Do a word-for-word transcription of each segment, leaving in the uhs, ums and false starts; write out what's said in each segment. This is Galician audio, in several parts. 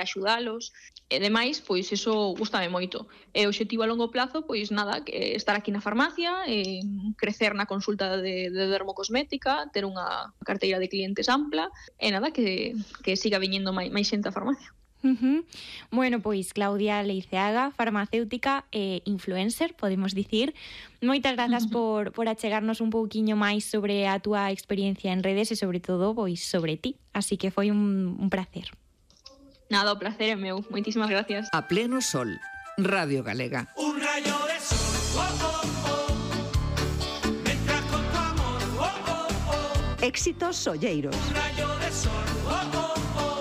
axudalos. E demais, pois iso gustame moito. E o obxectivo a longo plazo, pois nada, que estar aquí na farmacia, e crecer na consulta de, de dermocosmética, ter unha carteira de clientes ampla, e nada, que, que siga viñendo máis, máis xente á farmacia. Uh-huh. Bueno, pois Claudia Leiceaga, farmacéutica e influencer, podemos dicir. Moitas grazas uh-huh. por, por achegarnos un pouquiño máis sobre a túa experiencia en redes e sobre todo, pois, sobre ti. Así que foi un, un placer. Nada, o placer é meu. Moitísimas gracias. A pleno sol, Radio Galega. Un rayo de sol, oh, oh, oh. Entra con tu amor, oh, oh, oh. Éxitos solleiros. Un rayo de sol, oh, oh, oh.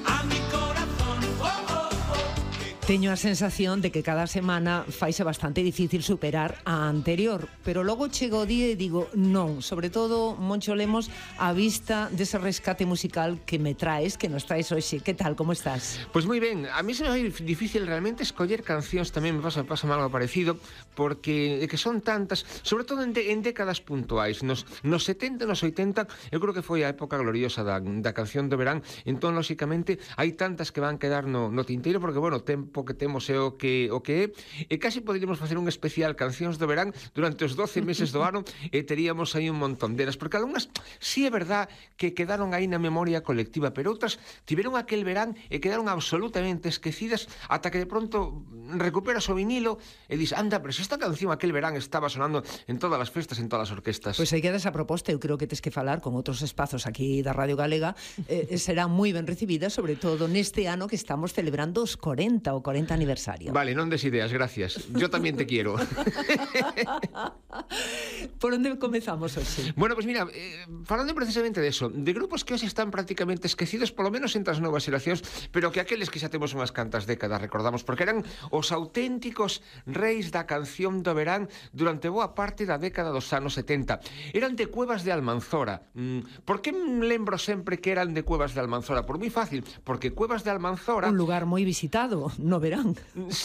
A mi corazón, oh, oh, oh. Teño a sensación de que cada semana faise bastante difícil superar a anterior, pero logo chego o día e digo non, sobre todo, Moncho Lemos, a vista dese rescate musical que me traes, que nos traes hoxe. Que tal, como estás? Pois moi ben, a mí se me vai difícil realmente escoller cancións, tamén me pasa, pasa algo parecido, porque que son tantas, sobre todo en, de, en décadas puntuais, nos, nos setenta, nos oitenta, eu creo que foi a época gloriosa da, da canción do verán, entón, lóxicamente, hai tantas que van quedar no, no tinteiro, porque, bueno, o tempo que temos é o que, o que é, e casi poderíamos facer un especial cancións do verán durante os doce meses do ano, e teríamos aí un montón delas, porque algunhas, sí é verdad que quedaron aí na memoria colectiva, pero outras tiveron aquel verán e quedaron absolutamente esquecidas ata que de pronto recuperas o vinilo e dis, anda, pero se esta canción aquel verán estaba sonando en todas as festas, en todas as orquestas. Pois aí queda esa proposta, eu creo que tes que falar con outros espazos aquí da Radio Galega, eh, será moi ben recibida, sobre todo neste ano que estamos celebrando os corenta, o corenta aniversario. Vale, non des ideas, gracias. Yo tamén te quiero. Por onde comezamos hoxe? Bueno, pois pues mira, eh, falando precisamente de eso, de grupos que hoxe están prácticamente esquecidos, polo menos entre as novas xeracións, pero que aqueles que xa temos unhas cantas décadas recordamos, porque eran os auténticos reis da canción do verán durante boa parte da década dos anos setenta. Eran de Cuevas de Almanzora. Mm, por que me lembro sempre que eran de Cuevas de Almanzora? Por moi fácil, porque Cuevas de Almanzora... Un lugar moi visitado no verán.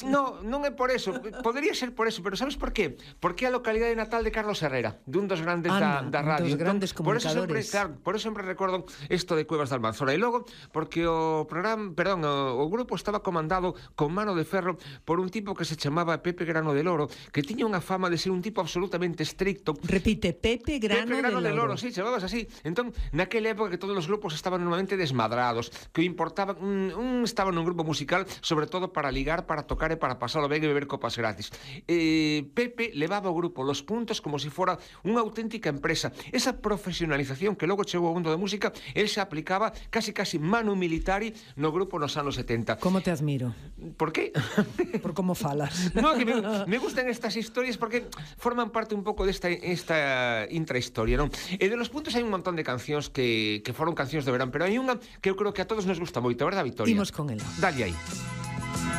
No, non é por eso, podría ser por eso, pero sabes por qué? Porque é a localidade natal de Carlos Herrera, dun dos grandes Anda, da, da radio. dos grandes entón, por eso sempre, comunicadores. claro, por eso sempre recordo isto de Cuevas de Almanzora. E logo, porque o programa, perdón, o, o grupo estaba comandado con mano de ferro por un tipo que se chamaba Pepe Grano de Loro, que tiña unha fama de ser un tipo absolutamente estricto. Repite, Pepe Grano, Pepe Grano de, de Loro. Loro, sí, chamabas así. Entón, naquela época que todos os grupos estaban normalmente desmadrados, que importaba, un, un estaba nun grupo musical, sobre todo para ligar, para tocar e para pasalo ben e beber copas gratis. Eh, Pepe levaba o grupo los puntos como se si fora unha auténtica empresa. Esa profesionalización que logo chegou ao mundo da música, el se aplicaba casi casi manu militari no grupo nos anos setenta. Como te admiro. Por qué? Por como falas. No, que me, me gustan estas historias porque forman parte un pouco desta esta intrahistoria, non? E de los puntos hai un montón de cancións que, que foron cancións de verán, pero hai unha que eu creo que a todos nos gusta moito, verdad, Victoria? Imos con ela. Dale aí.